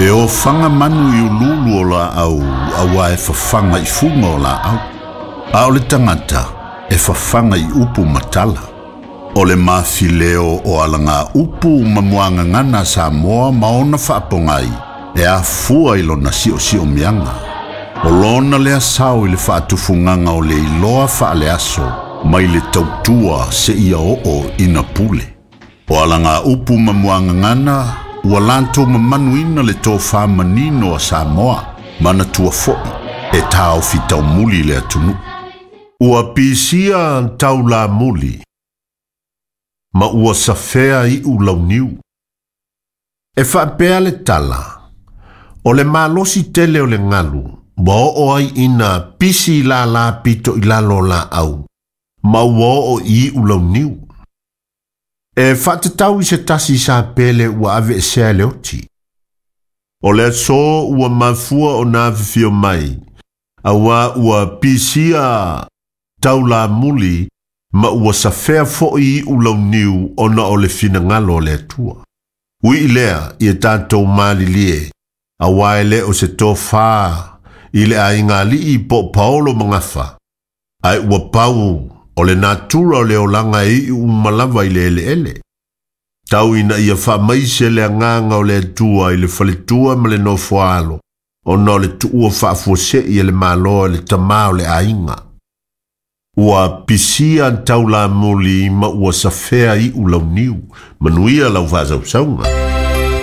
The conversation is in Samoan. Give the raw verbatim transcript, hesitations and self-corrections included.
E ofaga manu i uluulu o laau auā e fafaga i fuga o laau. A o le tagata e fafaga i upu ma tala. O le mafileo o alaga upu ma muagagana a Samoa ma ona faapogai e afua i lona siosiomiaga. O lona lea sao i le faatufugaga o le iloa faaleaso mai le tautua seia oo ina pule. O alaga upu ma muagagana ua latou mamanuina le tofā manino a Samoa manatua fo'i e taofi taumuli le atunuu. Ua pisia taulamuli ma ua safea iu launiu. E faapea le tala, o le malosi tele o le galu, ua oo ai ina pisi lala pito i lalo o laau, ma ua oo i iu launiu. E faatatau i se tasi sa pele ua aveesea e le oti. O le aso ua mafua ona afifio mai, auā ua pisia taulamuli ma ua safea fo'i iu launiu ona o le finagalo o le Atua. Ui i lea ia tatou malilie, auā e le o se tofā i le aiga alii po o paolo ma gafa, ae ua pau o le natura o le olaga e iu uma lava i le eleele. Tau ina ia faamaise le agaga o le Atua i le faletua ma le nofoalo, ona o le tuua faafuasei e le Malo e le tamā o le aiga. Ua pisia taulamuli ma ua safea iu launiu, manuia lau faasausauga.